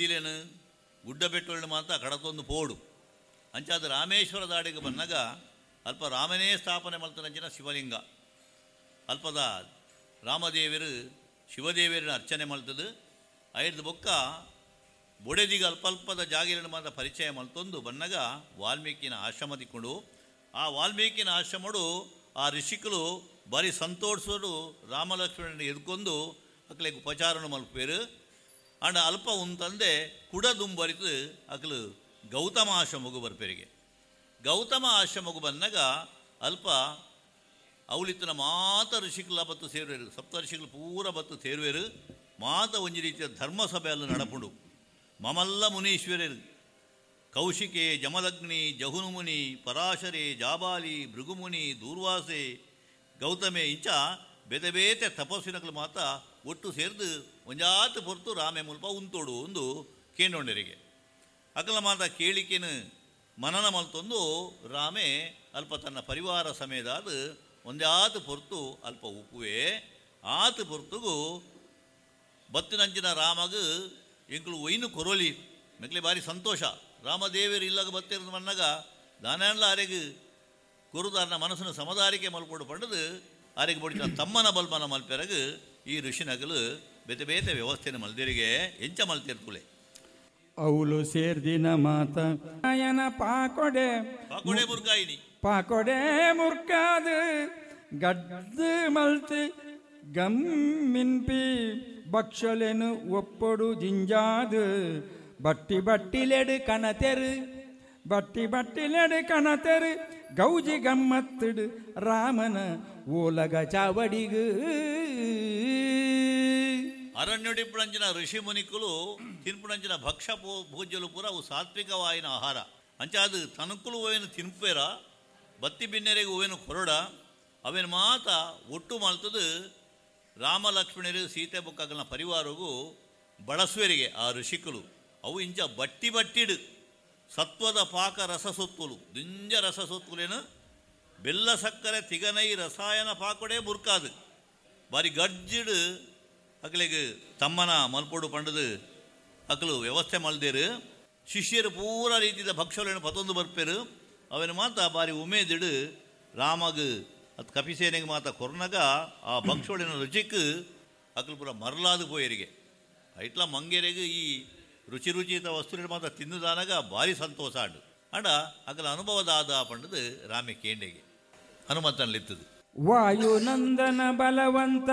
ಲೆನ್ ಗುಡ್ಡ ಬೆಟ್ಟೊಲೆನ್ ಮಾತ ಕಡತೊಂದು ಪೋಡು. ಅಂಚಾದ್ ರಾಮೇಶ್ವರ ದಾಡೆಗ್ ಬನ್ನಗ ಅಲ್ಪ ರಾಮನೇ ಸ್ಥಾಪನೆ ಮಲ್ತನಂಚಿನ ಶಿವಲಿಂಗ. ಅಲ್ಪದ ರಾಮದೇವೆರ್ ಶಿವದೇವೆರೆನ ಅರ್ಚನೆ ಮಲ್ತುದು ಐರ್ದ್ ಬೊಕ್ಕ ಬೊಡೆದಿಗ್ ಅಲ್ಪಲ್ಪದ ಜಾಗೆಲೆನ್ ಮಾತ ಪರಿಚಯ ಮಲ್ತೊಂದು ಬನ್ನಗ ವಾಲ್ಮೀಕಿನ ಆಶ್ರಮ ತಿಕ್ಕುಂಡು. ಆ ವಾಲ್ಮೀಕಿನ ಆಶ್ರಮೊಡು ಆ ಋಷಿಕುಲು ಬಾರಿ ಸಂತೋಷಡು ರಾಮಲಕ್ಷ್ಮಣನ್ ಎದ್ಕೊಂದು ಅಕ್ಲೆಗ್ ಉಪಚಾರಣ ಮಲ್ಪುವೆರ್. ಆಂಡ ಅಲ್ಪ ಉಂತಂದೆ ಕುಡ ದುಂಬರಿತು ಅಕಲು ಗೌತಮ ಆಶ್ರಮೊಗು ಬರ್ಪೆರಿಗೆ. ಗೌತಮ ಆಶ್ರಮೊಗು ಬನ್ನಗ ಅಲ್ಪ ಅವಲಿತ್ತಿನ ಮಾತ ಋಷಿಕುಲ ಬತ್ತು ಸೇರುವೆರು. ಸಪ್ತ ಋಷಿಕುಲು ಪೂರ ಬತ್ತು ಸೇರುವೆರು. ಮಾತ ಒಂಜಿ ರೀತಿಯ ಧರ್ಮಸಭೆಯಲ್ಲಿ ನಡಪುಂಡು. ಮಮಲ್ಲ ಮುನೀಶ್ವರರು ಕೌಶಿಕೆ, ಜಮದಗ್ನಿ, ಜಹುನುಮುನಿ, ಪರಾಶರೆ, ಜಾಬಾಲಿ, ಭೃಗುಮುನಿ, ದೂರ್ವಾಸೆ, ಗೌತಮೆ ಇಂಚ ಬೇತೆ ಬೇತೆ ತಪಸ್ವಿನಕಲು ಮಾತ ಒಟ್ಟು ಸೇರ್ದು ಒಂಜಾತ್ ಪೊರ್ತು ರಾಮೆ ಮುಲ್ಪ ಉಂತೋಡು ಒಂದು ಕೇಂಡೊಂಡರಿಗೆ. ಅಕಲ ಮಾತ ಕೇಳಿಕೆನು ಮನನ ಮಲ್ತೊಂದು ರಾಮೆ ಅಲ್ಪ ತನ್ನ ಪರಿವಾರ ಸಮೇದಾದ ಒಂಜಾತ್ ಪೊರ್ತು ಅಲ್ಪ ಉಪ್ಪುವೆ. ಆತ್ ಪೊರ್ತುಗು ಬತ್ತಿನಂಚಿನ ರಾಮಗ್ ಎಂಕುಲು ಒಯ್ನು ಕೊರೊಲಿ ಮೆಕ್ಲೆ ಬಾರಿ ಸಂತೋಷ. ರಾಮದೇವರು ಇಲ್ಲಗ ಬತ್ತಿರದ ಮನ್ನಗ ದಾನಾನ್ಲ ಅರೆಗ್ ಕೊರುದಾರನ ಮನಸ್ಸನ್ನು ಸಮದಾರಿಕೆ ಮಲ್ಪೊಡು ಪಂಡದು ಆರೆಗ್ ಬೊಡಿನ ತಮ್ಮನ ಬಲ್ಮನ ಮಲ್ಪೆರಗ್ ಈ ಋಷಿನಗಲು ಬೇತೆ ಬೇತೆ ವ್ಯವಸ್ಥೆನ ಮಲ್ದಿರಿಗೆ ಎಂಚ ಮಲ್ತಿರ್ತುಲೆ. ಅವುಲು ಸೇರ್ದಿನ ಮಾತ ಆಯನ ಪಾಕೊಡೆ ಪಾಕೊಡೆ ಮುರ್ಗಾಯಿನಿ ಪಾಕೊಡೆ ಮುರ್ಕಾದು ಗಡ್ದು ಮಲ್ತ್ ಗಮ್ಮಿನ್ಪಿ ಭಕ್ಷಲೆನು ಒಪ್ಪೊಡು ಜಿಂಜಾದು ಬಟ್ಟಿ ಬಟ್ಟಿಲೆಡು ಕಣತೆರು ಬಟ್ಟಿ ಬಟ್ಟಿಲೆಡು ಕಣತೆರು ಗೌಜಿ ಗಮ್ಮತ್ತಿಡು ರಾಮನ ಓಲಗ ಚಾವಡಿಗು. ಅರಣ್ಯಡಿಪ್ಪುಣಂಚಿನ ಋಷಿ ಮುನಿಕುಲು ತಿನ್ಪುಣಂಚಿನ ಭಕ್ಷ ಭೋಜ್ಯಲು ಪೂರ ಅವು ಸಾತ್ವಿಕವಾಯಿನ ಆಹಾರ. ಅಂಚಾದು ತನುಕುಲು ಓವೇನು ತಿನ್ಪೇರ ಬತ್ತಿ ಬಿನ್ನೆರೆಗೆ ಓವೇನು ಕೊರಡ ಅವೇನು ಮಾತ ಒಟ್ಟು ಮಲ್ತದು ರಾಮ ಲಕ್ಷ್ಮಣರು ಸೀತೆ ಬೊಕ್ಕಗಲ್ನ ಪರಿವಾರಗೂ ಬಳಸುವರಿಗೆ ಆ ಋಷಿಕುಲು. ಅವು ಇಂಚ ಬಟ್ಟಿ ಬಟ್ಟಿಡು ಸತ್ವದ ಪಾಕ ರಸಸೊತ್ತುಲು ದಿಂಜ ರಸಸೊತ್ತುಲೇನು ಬೆಲ್ಲ ಸಕ್ಕರೆ ತಿಗನೈ ರಸಾಯನ ಪಾಕೊಡೆ ಬುರ್ಕಾದು ಬಾರಿ ಗರ್ಜಿಡು ಅಕಲೆಗ್ ತಮ್ಮನ ಮಲ್ಪೊಡು ಪಂಡದು ಅಕಲು ವ್ಯವಸ್ಥೆ ಮಲ್ದೇರು. ಶಿಷ್ಯರು ಪೂರ ರೀತಿದ ಭಕ್ಷಗಳನ್ನು ಪತೊಂದು ಬರ್ಪೇರು. ಅವನ ಮಾತ ಬಾರಿ ಉಮೇದಿಡು ರಾಮಗ್ ಅತ್ ಕಪಿಸೇನೆಗೆ ಮಾತ ಕೊರ್ನಗ ಆ ಭಕ್ಷೊಳಿನ ರುಚಿಕ್ ಅಕಲು ಪೂರ ಮರಲಾದು ಪೋಯರಿಗೆ. ಐಟ್ಲ ಮಂಗೆರೆಗ್ ಈ ರುಚಿ ರುಚಿತ ವಸ್ತುವಿನ ಮಾತ ತಿನ್ನುದಾನಗ ಭಾರಿ ಸಂತೋಷ ಆಂಡು. ಅಂಡ ಅಕಲ ಅನುಭವದಾದ ಪಂಡದು ರಾಮೆ ಕೇಂಡೆಗೆ ಹನುಮಂತನಲ್ಲಿತ್ತದು. ವಾಯುನಂದನ ಬಲವಂತ